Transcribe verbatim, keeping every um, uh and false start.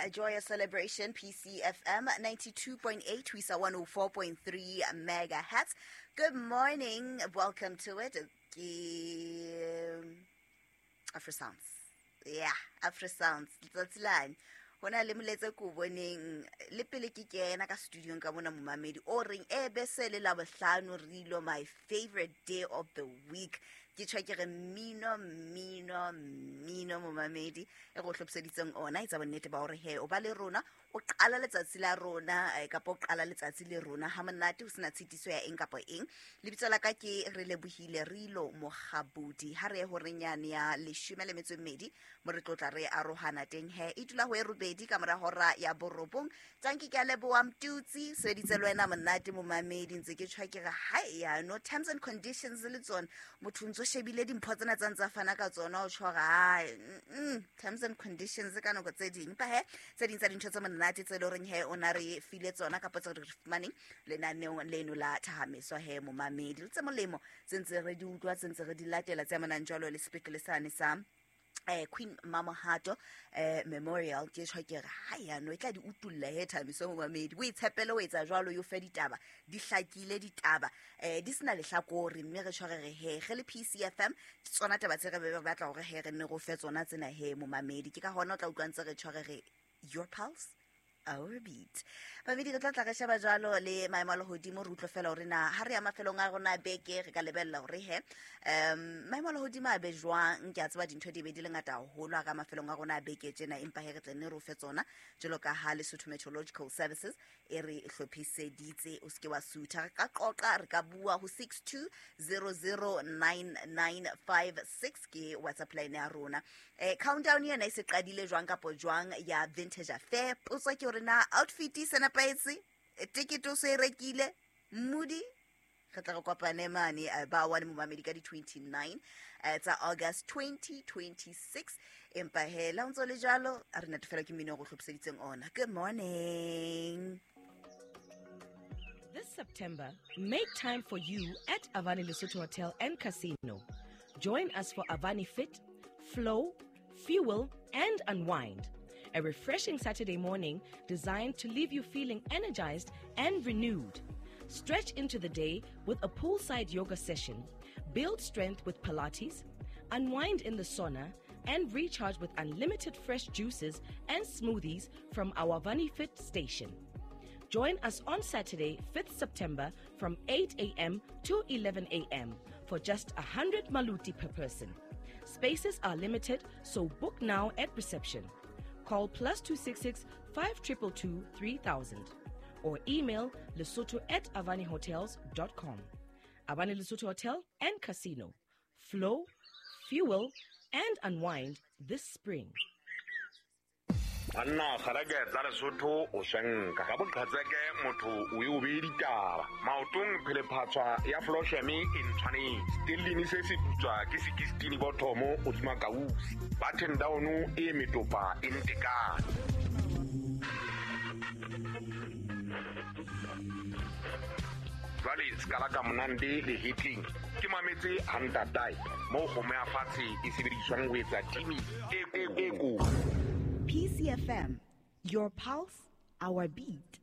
A joyous celebration, P C F M ninety-two point eight, ho isa one oh four point three megahertz. Good morning, welcome to it. Ke Afro Sounds. Yeah, Afro Sounds. Letsatsi lane. Ho na le molaetsa ko boneng le pele ke kena ka studio ka mona momamedi o reng e be se le Labohlano re ilo my favorite day of the week. Ke tjho ke re mmino, mmino, mmino momamedi e go hlophiseditseng ona e tsa bonnete ba hore he o ba le rona o qala letsatsi la rona eh, kapa o qala letsatsi le rona ha monate ho sena tshitiso ya eng kapa eng. Lebitso la ka ke re lebohile Rilo Mokgabudi. Ha re ye horeng yane ya leshome le metso e mmedi mo re tlotla re arohana teng he e dula ho e robedi ka mora hora ya borobong. Tanki ke a leboha Mtutsi sebeditse le wena monate momamedi ntse ke tjho ke re ha ya no terms and conditions le tsona motho ntso shebile dimpho tsena tsa ntsa fana ka tsona o tjho re mm, terms and conditions ka nako tse ding pa he tse ding tsa dintho tse monate tse le horeng he o na re file tsona kapa tse re fumaneng lenaneong leno la thahameso he momamedi le tse molemo tse ntse re di utlwa tse ntse re di latela tse amanang jwalo le sepetlele sane sa eh Queen Mamohato eh Memorial. Ke tjho ke re ha ya no e tla di utulla he Thabiso momamedi o itshepele o etsa jwalo yo fe ditaba di hlakile ditaba eh di sena lehlakore mme re tjho re re he re le P C F M ke tsona taba tse re be re batla hore he re nne go fe tsona tsena he momamedi. Ke ka hona o tla utlwa ntse re tjho re re your pulse our beat. Mamedi re tla tla re sheba jwalo le maemo a lehodimo re utlwe fela hore na ha re ya mafelong a rona beke re ka lebella hore he um maemo a lehodimo a be jwang. Ke a tseba dintho di be di le ngata haholo ha ka mafelong a rona a beke tjena empa he re tle nne re o fe tsona jwalo ka ha Lesotho Meteorological Services e re hlophiseditse. O seke wa sutha, re ka qoqa re ka bua ho six two zero zero nine nine five six ke WhatsApp line ya rona. Eh countdown yena e se qadile jwang kapo jwang ya Vintage Affair. Potso ke hore na outfit e se nepahetse, ticket o se rekile Moody re tla re kopane mane ba one momamedi ka di twenty-nine tsa August twenty twenty-six. Empa he la ntso le jwalo a re natefela ke mmino o go hlophiseditseng ona. Good morning. This September, make time for you at Avani Lesotho Hotel and Casino. Join us for Avani Fit, Flow, Fuel and Unwind. A refreshing Saturday morning designed to leave you feeling energized and renewed. Stretch into the day with a poolside yoga session, build strength with Pilates, unwind in the sauna, and recharge with unlimited fresh juices and smoothies from our Avani Fit station. Join us on Saturday, fifth September from eight a.m. to eleven a.m. for just one hundred maluti per person. Spaces are limited, so book now at reception. Call plus two six six, five two two two, three thousand or email lesotho at avani hotels dot com. Avani Lesotho Hotel and Casino. Flow, fuel, and unwind this spring. Anna kgarake tsa Lesotho o swenka ka boqhatseke motho o e o be ditaba maotong phelephatswa ya flosheme e ntshwanetse stellini se se putswa ke sixteen bothomo o dima kausi button down e metopa e ntekane. Jwale skala ka monande le hitling ke mametse hantatai mo kgomo ya fatshe e sebediswang ho etsa timi e e ko. P C F M, your pulse, our beat.